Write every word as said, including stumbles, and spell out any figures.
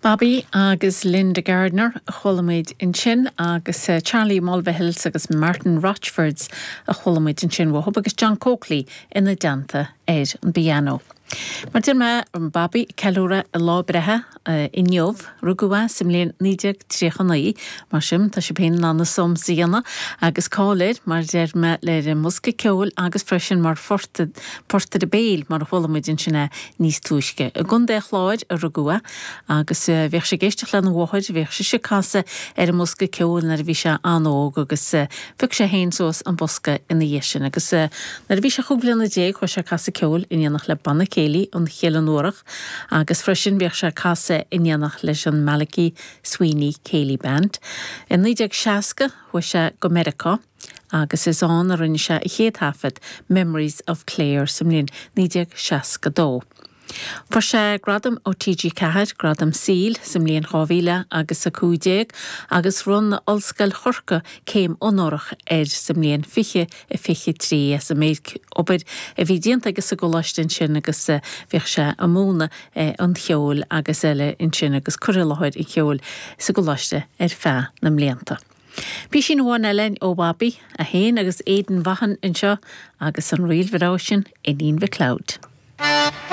Bobby agus Linda Gardner a chuala muid ansin agus uh, Charlie Mulvihills agus Martin Rochfords a chuala muid ansin uathu agus John Coakley ina dteannta ar an bpianó. Mar deir mé an Bobby ceiliúradh a lá breithe uh, inniu rugadh é sa mbliain naoi déag tríocha naoi mar sin tá sé féin an som síana agus cáil mar deir mé le an mbosca ceoil agus freisin mar phortaire béil mar a chuala muid ansin é níos túisce. I gContae an Chláir a rugadh é agus uh, bheadh sé ag éisteacht lena mháthair bheadh sise ag casadh ar an mbosca ceoil nuair a bhí sé an-óg agus uh, phioc sé féin suas an bosca ina dhiaidh sin agus uh, nuair a bhí sé chúig bliana déag chuaigh sé ag casadh ceoil in éineacht le banna céilí an Chéile Nuarach agus freisin bheadh sé ag casadh in éineacht leis an Malachy Sweeney Céilí Band. In naoi déag seasca chuaigh sé go Meiriceá agus is ann a rinne sé a chéad taifead Memories of Clare sa mbliain naoi déag seasca dó. Fuair sé gradam ó TG Ceathair gradam saoil sa mbliain dhá mhíle agus a cúig déag agus bhronn Ollscoil Chorcaí céim onórach air sa mbliain fiche a fiche trí as an méid obair a bhí déanta aige sa gcoláiste ansin agus eh, bhíodh sé ag múineadh eh, an cheoil agus eile ansin agus cur i láthair an cheoil sa gcoláiste ar feadh na mblianta. Píosín amháin eile ó Bhobby é féin agus Aidan Vaughan anseo agus an ríl bhreá sin Iníon McLeod.